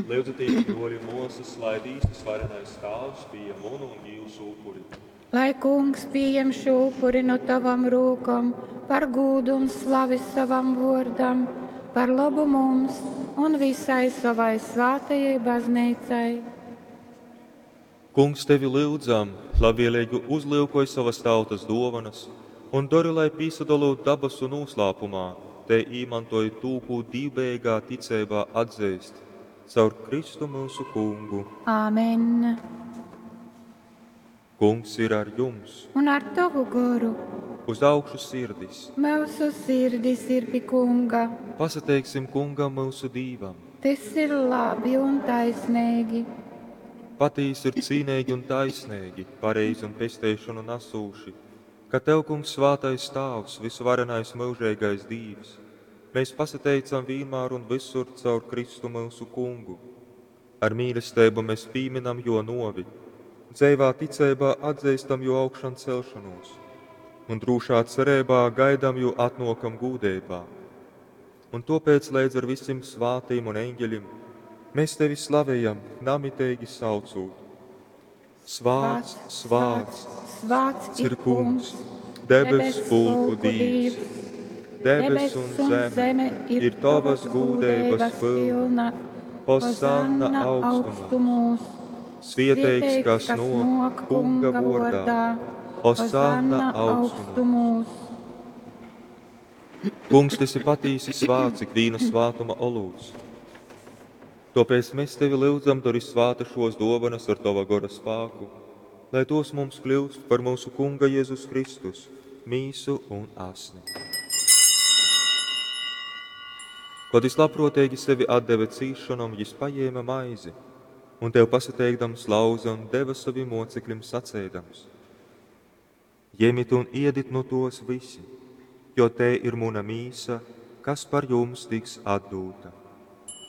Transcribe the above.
Lyudzatīs, bruoļi un muosys, lai Dīvs Vysvarenais Tāvs pījem munu un jiusu upuri. Lai Kungs pījem šū upuri nu tovom rūkom par gūdu un slavi sovam vōrdam, par lobu mums un vysai sovai svātajai Bazneicai. Kungs, tevi lyudzam, labvieleigi uzlyukoj sovas tautas dōvonas un dori, lai, pīsadolūt dabasu nūslāpumā, tei īmantoj tū, kū dīvbejeigā ticeibā atzeist, caur Kristu myusu Kungu. Amen. Kungs ir ar jums! Un ar tovu goru. Uz augšu sirdis! Myusu sirdis ir pi Kunga. Pasateiksim Kungam, myusu Dīvam! Tys ir labi un taisneigi. Patīsi ir cīneigi un taisneigi, pareizi un pesteišonu nasūši, ka tev, Kungs, svātais Tāvs, vysuvarenais myužeigais Dīvs, mēs pasateicam vīnmār un vysur caur Kristu myusu Kungu. Ar mīlesteibu mes pīmynam jō nōvi, dzeivā ticeibā atzeistam jō augšanceļšonūs un drūšā cereibā gaidam jō atnōkam gūdeibā. Un tōpēc leidz ar visim svātim un eņgeļim mēs tevi slavejam, namiteigi saucūt: Svāts, svāts, svāts ir Kungs, debesu pulku Dīvs. Debess un zeme ir tovas gūdeibas pylna. Hosanna augstumūs. Svieteigs, kas nōk Kunga vōrdā. Hosanna augstumūs. Kungs, tu esi patīsi svāts, ikvīna svātuma olūts. Tōpēc mēs tevi lyudzam, dori svāta šos dōvanas ar tova gora spāku, lai tos mums kļūst par mūsu Kunga Jēzus Kristus, mīsu un asni. Kod jys labprōteigi sevi atdeve cīsšonom, jys pajēme maizi un tev pasateikdams lauze un deva sovim mōcekļim saceidams: Jemit un iedit nu tōs vysi, jo tei ir muna mīsa, kas par jums tiks atdūta.